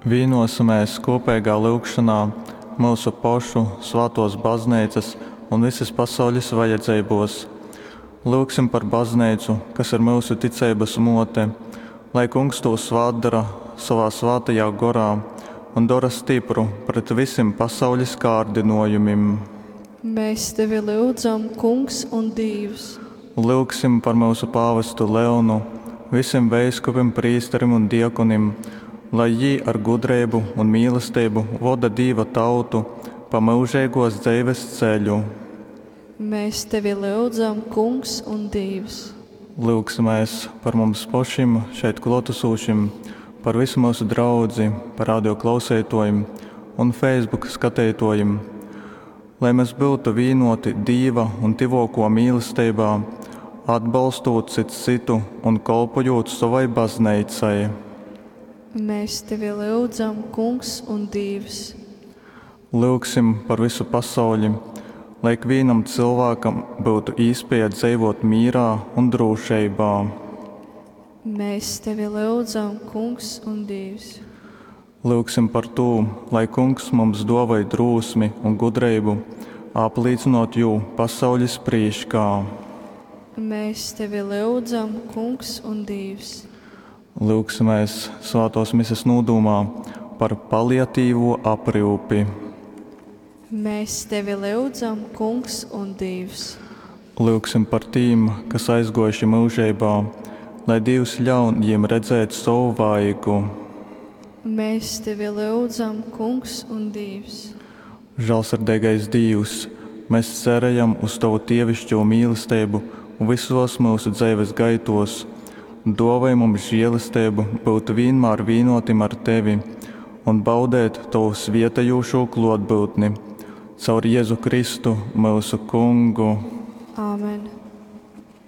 Vīnosimēs kūpeigā lyugšonā myusu pošu, svātōs Bazneicas un vysis pasaulis vajadzeibōs. Lyugsim par Bazneicu, kas ir myusu ticeibas mōte, lai Kungs tū svātdora sovā Svātajā Gorā un dora stypru pret vysim pasaulis kārdynōjumim. Mēs tevi lyudzam, Kungs un Dīvs! Lyugsim par myusu pāvestu Leonu, vysim veiskupim, prīsterim un diakonim, lai jī ar gudreibu un mīlesteibu voda Dīva tautu pa myužeigōs dzeives ceļu. Mēs tevi lyudzam, Kungs un Dīvs! Lyugsimēs par mums pošim, šeit klōtasūšim, par vysu myusu draudzi, par radio klauseitōjim un Facebook skateitōjim. Lai mes byutu vīnōti Dīva un tyvōkō mīlesteibā, atbolstūt cyts cytu un kolpojūt sovai Bazneicai. Mēs tevi lyudzam, Kungs un Dīvs! Lyugsim par vysu pasauļi, lai ikvīnam cylvākam byutu īspēja dzeivōt mīrā un drūšeibā. Mēs tevi lyudzam, Kungs un Dīvs! Lyugsim par tū, lai Kungs mums dōvoj drūsmi un gudreibu aplīcynōt jū pasauļis prīškā. Mēs tevi lyudzam, Kungs un Dīvs! Lyugsimēs svātōs Mises nūdūmā par paliatīvū apryupi. Mēs tevi lyudzam, Kungs un Dīvs! Lyugsim par tīm, kas aizgōjuši myužeibā, lai Dīvs ļaun jīm redzēt sovu vaigu. Mēs tevi lyudzam, Kungs un Dīvs! Žālsirdeigais Dīvs, mes cerejam uz tovu dieviškū mīlesteibu vysōs myusu dzeives gaitōs. Dōvoj mums želesteibu byut vīnmār vīnōtim ar tevi un baudeit tovu svietejūšū klōtbyutni. Caur Jezu Kristu, myusu Kungu. Āmen.